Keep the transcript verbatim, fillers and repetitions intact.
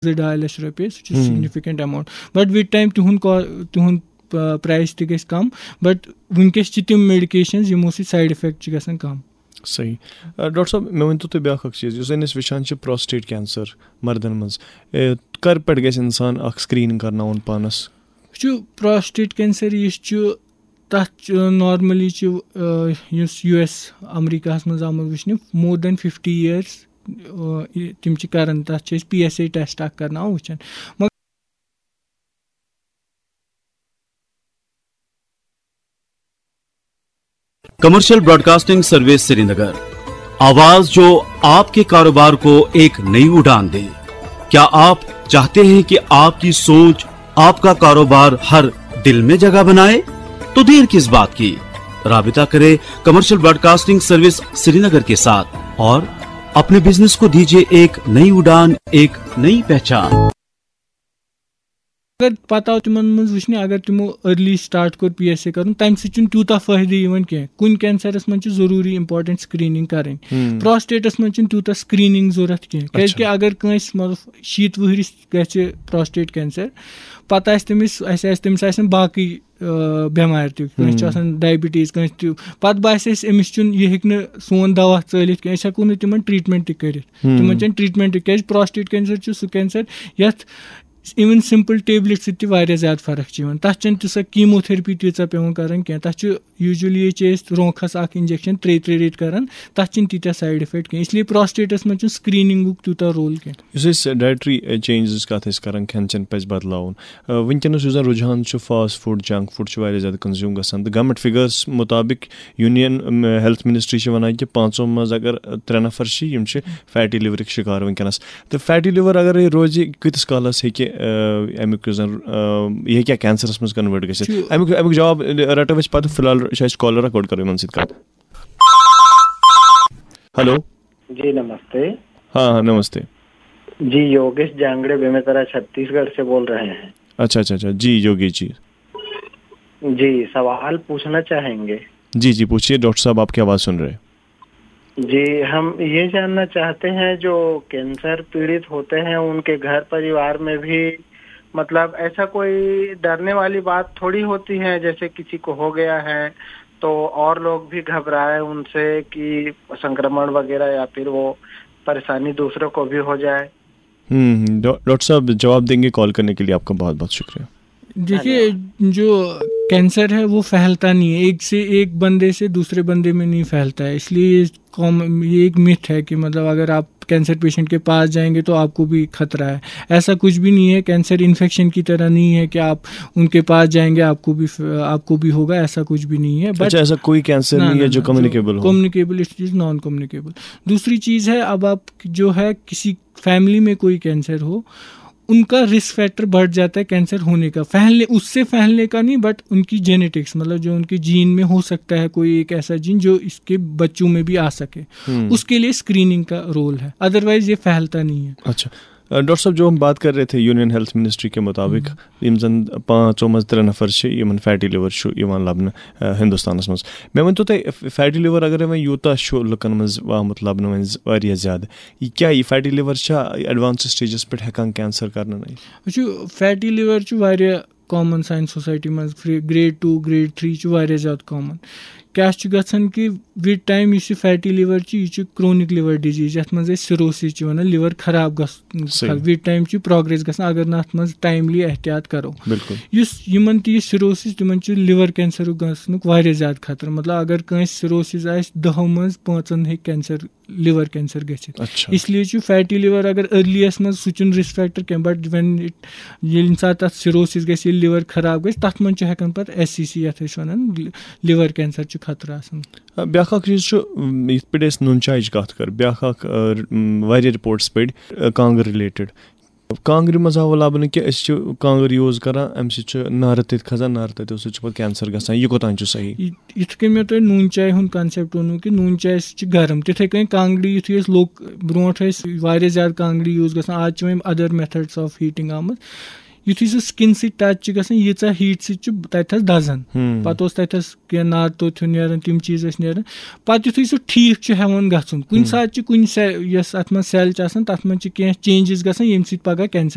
زٕ ڈاے لَچھ رۄپیہِ، سُہ چھُ significant amount. But with time تِہُنٛد کا-، تِہُنٛد پرٛایِس تہِ گژھِ کَم. But وٕنکیٚس چھِ تِم میڈِکیشنز یِمو سۭتۍ سایڈ اِفیکٹ چھِ گژھان کَم. صحیح۔ ڈاکٹر صٲب، مےٚ ؤنۍ تو تُہۍ بیٛاکھ اَکھ چیٖز، یُس زَن أسۍ وٕچھان چھِ پراسٹیٹ کینسر مردَن منٛز، کَر پٮ۪ٹھ گژھِ اِنسان اَکھ سِکریٖنِنٛگ کَرناوُن پانَس؟ وٕچھِو، پراسٹیٹ کینسر یُس چھُ، تَتھ چھُ normally چھُ یُس یوٗ ایس امریکاہَس منٛز آمُت وٕچھنہٕ more than fifty years، تِم چھِ کَران، تَتھ چھِ أسۍ پی ایس اے ٹیسٹ اَکھ کَرناوان وٕچھان. مگر کمرشل براڈکاسٹنگ سروس سرینگر، آواز جو آپ کے کاروبار کو ایک نئی اڑان دے۔ کیا آپ چاہتے ہیں کہ آپ کی سوچ آپ کا کاروبار ہر دل میں جگہ بنائے؟ تو دیر کس بات کی؟ رابطہ کرے کمرشل براڈکاسٹنگ سروس سرینگر کے ساتھ اور اپنے بزنس کو دیجیے ایک نئی اڑان، ایک نئی پہچان۔ اگر پتہٕ آو تِمن منٛز وٕچھنہٕ، اگر تِمو ارلی سٹارٹ کوٚر پی ایس اے کرُن، تَمہِ سۭتۍ چھُنہٕ تیوٗتاہ فٲیدٕ یِوان کینٛہہ. کُنہِ کینسرس منٛز چھِ ضروٗری امپورٹنٹ سکریننگ کرٕنۍ. پراسٹیٹس منٛز چھُنہٕ تیوٗتاہ سکریننگ ضروٗرت کینٛہہ، کیازِ کہِ اگر کٲنٛسہِ مطلب شیٖتھ وُہرِس گژھِ پراسٹیٹ کینسر، پتہٕ آسہِ تٔمِس، اسہِ آسہِ تٔمِس آسن باقٕے بٮ۪مارِ تہِ، کٲنٛسہِ چھُ آسان ڈایبٹیٖز، کٲنٛسہِ تہِ، پتہٕ باسہِ اَسہِ أمِس چھُنہٕ، یہِ ہیٚکہِ نہٕ سون دوا ژٲلِتھ کینٛہہ، أسۍ ہٮ۪کو نہٕ تِمن ٹریٖٹمنٹ تہِ کٔرِتھ. تِمن چھَنہٕ ٹریٖٹمنٹ تہِ، کیازِ پراسٹیٹ کینسر چھُ سُہ کینسر یَتھ even simple tablet سۭتۍ تہِ واریاہ زیادٕ فرق چھِ یِوان. تَتھ چھَنہٕ تیٖژاہ کیٖموتھیرپی تیٖژاہ پٮ۪وان کَرٕنۍ کینٛہہ. تَتھ چھُ usually چھِ أسۍ رونٛقَس اَکھ injection ترٛیٚیہِ ترٛیٚیہِ ریٚتۍ کَران، تَتھ چھِنہٕ تیٖتیٛاہ سایڈ افیکٹ کینٛہہ. اس لیے پراسٹیٹَس منٛز چھُنہٕ سکریننگُک تیوٗتاہ رول کینٛہہ. یُس أسۍ ڈایٹری چینجز کَتھ ٲسۍ کَران، کھٮ۪ن چٮ۪ن پَزِ بدلاوُن، آ، وٕنکیٚنَس یُس زَن رُجحان چھُ فاسٹ فوڈ، جنک فوڈ چھُ واریاہ زیادٕ کنزیوٗم گژھان، تہٕ گورمنٹ فِگٲرٕس مُطابِق یوٗنین ہیلتھ منسٹری چھِ وَنان کہِ پانٛژو منٛز اگر ترٛےٚ نفر چھِ، یِم چھِ فیٹی لِورٕکۍ شِکار وٕنکیٚنَس. تہٕ فیٹی لِور اگرے روزِ، کۭتِس کالَس ہیٚکہِ، آ، اَمیُک یُس زَن، آ، یہِ ہیٚکیٛاہ کینسرَس منٛز کنوٲرٹ گٔژھِتھ؟ اَمیُک اَمیُک جواب رَٹو أسۍ پَتہٕ۔ فی الحال چھِ اَسہِ کالر اَکھ، گۄڈٕ کَرو یِمَن سۭتۍ کَتھ۔ ہیلو۔ جی نمستے۔ ہاں ہاں، نمستے۔ جی، یوگیش جانگڑے بیمیترا چھتیس گڑھ سے بول رہے ہیں۔ اچھا اچھا اچھا، جی یوگیش جی۔ جی، سوال پوچھنا چاہیں گے۔ جی جی، پوچھیے ڈاکٹر صاحب، آپ کی آواز سن رہے۔ جی، ہم یہ جاننا چاہتے ہیں جو کینسر پیڑت ہوتے ہیں ان کے گھر پریوار میں بھی مطلب ایسا کوئی ڈرنے والی بات تھوڑی ہوتی ہے، جیسے کسی کو ہو گیا ہے تو اور لوگ بھی گھبرائے ان سے کہ سنक्रमण وغیرہ یا پھر وہ پریشانی دوسروں کو بھی ہو جائے۔ ڈاکٹر صاحب جواب دیں گے، کال کرنے کے لیے آپ کا بہت بہت شکریہ۔ دیکھیے، جو کینسر ہے وہ پھیلتا نہیں ہے، ایک سے ایک بندے سے دوسرے بندے میں نہیں پھیلتا ہے، اس لیے یہ ایک متھ ہے کہ مطلب اگر آپ کینسر پیشنٹ کے پاس جائیں گے تو آپ کو بھی خطرہ ہے۔ ایسا کچھ بھی نہیں ہے، کینسر انفیکشن کی طرح نہیں ہے کہ آپ ان کے پاس جائیں گے آپ کو بھی آپ کو بھی ہوگا، ایسا کچھ بھی نہیں ہے۔ اچھا، ایسا کوئی کینسر نہیں ہے جو کمیونیکیبل ہو؟ Communicable, it is non communicable. دوسری چیز ہے، اب آپ جو ہے کسی فیملی میں کوئی کینسر ہو، ان کا رسک فیکٹر بڑھ جاتا ہے کینسر ہونے کا، پھیلنے، اس سے پھیلنے کا نہیں، بٹ ان کی جینیٹکس، مطلب جو ان کے جین میں ہو سکتا ہے کوئی ایک ایسا جین جو اس کے بچوں میں بھی آ سکے، اس کے لیے اسکریننگ کا رول ہے، ادروائز یہ پھیلتا نہیں ہے۔ اچھا، ڈاکٹر صاحب، جو ہم بات کر رہے تھے یونین ہیلتھ منسٹری کے مطابق، یِم زَن پانٛژو منٛز ترٛےٚ نفر چھِ، یِمَن فیٹی لِور چھُ یِوان لَبنہٕ، آ، ہِندُستانَس منٛز۔ مےٚ ؤنۍ تو تُہۍ، فیٹی لِور اگرے وۄنۍ یوٗتاہ چھُ لُکَن منٛز آمُت لَبنہٕ وۄنۍ ز-، واریاہ زیادٕ، یہِ کیٛاہ، یہِ فیٹی لِور چھا ایڈوانس سٹیجَس پٮ۪ٹھ ہٮ۪کان کینسر کَرنہٕ نٔنِتھ؟ وٕچھِو، فیٹی لِور چھُ واریاہ کامن سانہِ سوسایٹی منٛز، گریڈ ٹوٗ، گریڈ تھری چھُ واریاہ زیادٕ کامن۔ کیٛاہ چھُ گژھان کہِ وِد ٹایم یُس یہِ فیٹی لِور چھُ، یہِ چھُ کرونک لِور ڈِزیٖز، یَتھ منٛز أسۍ سِروسِس چھِ وَنان، لِور خراب گژھُن۔ وِد ٹایم چھُ پروگریس گژھان اگر نہٕ اَتھ منٛز ٹایملی احتیاط کرو۔ بِلکُل۔ یُس یِمن تہِ یہِ سِروسِس، تِمن چھُ لِور کینسرُک گژھنُک واریاہ زیادٕ خطرٕ۔ مطلب اگر کٲنٛسہِ سِروسِس آسہِ، دَہو منٛز پانٛژن ہیٚکہِ کینسر، لِور کینسر گٔژھِتھ۔ اچھا۔ اس لیے چھُ فیٹی لِور اگر ارلی یس منٛز، سُہ چھُنہٕ رسک فیکٹر کینٛہہ، بٹ وین ییٚلہِ ییٚمہِ ساتہٕ تتھ سِروسِس گژھِ، ییٚلہِ لِور خراب گژھِ، تتھ منٛز چھُ ہٮ۪کان پتہٕ ایس سی سی، یتھ أسۍ ونان لِور کینسر چھُ خطرٕ آسان۔ آ، بیٛاکھ اکھ چیٖز چھُ، م، یِتھ پٲٹھۍ أسۍ نوٗن چاے چھِ کتھ کر، بیٛاکھ اکھ، آ، م، واریاہ رپورٹس پٔرۍ، آ، کانٛگٕر رِلیٹڈ۔ کانٛگرِ منٛز آو لبنہٕ کہِ أسۍ چھِ کانٛگٕر یوٗز کران، امہِ سۭتۍ چھُ نارٕ تٔتۍ کھسان، نارٕ تٔتیو سۭتۍ چھُ پتہٕ کینسر گژھان۔ یہِ کوٚتام چھُ صحیح؟ یہِ، یِتھ کٔنۍ مےٚ تۄہہِ نوٗن چاے ہُنٛد کنسیپٹ ووٚنوُ کہِ نوٗن چاے سۭتۍ چھِ گرم، تِتھَے کٔنۍ کانٛگرِ یُتھُے أسۍ لوٚگ، برونٛٹھ ٲسۍ واریاہ زیادٕ کانٛگرِ یوٗز گژھان، آز چھِ وۄنۍ ادر میتھڈس آف ہیٖٹنگ آمٕژ۔ یُتھُے سُہ سِکِن سۭتۍ ٹچ چھِ گژھان، ییٖژاہ ہیٖٹ سۭتۍ چھُ تَتہِ تھَس دَزان۔ پَتہٕ اوس تَتہِ تھَس کینٛہہ نارٕ توٚت ہیوٗ نیران، تِم چیٖز ٲسۍ نیران۔ پَتہٕ یُتھُے سُہ ٹھیٖک چھُ ہٮ۪وان گژھُن، کُنہِ ساتہٕ چھِ کُنہِ سیل، یۄس اَتھ منٛز سیل چھِ آسان، تَتھ منٛز چھِ کینٛہہ چینجز گژھان، ییٚمہِ سۭتۍ پَگاہ کینسر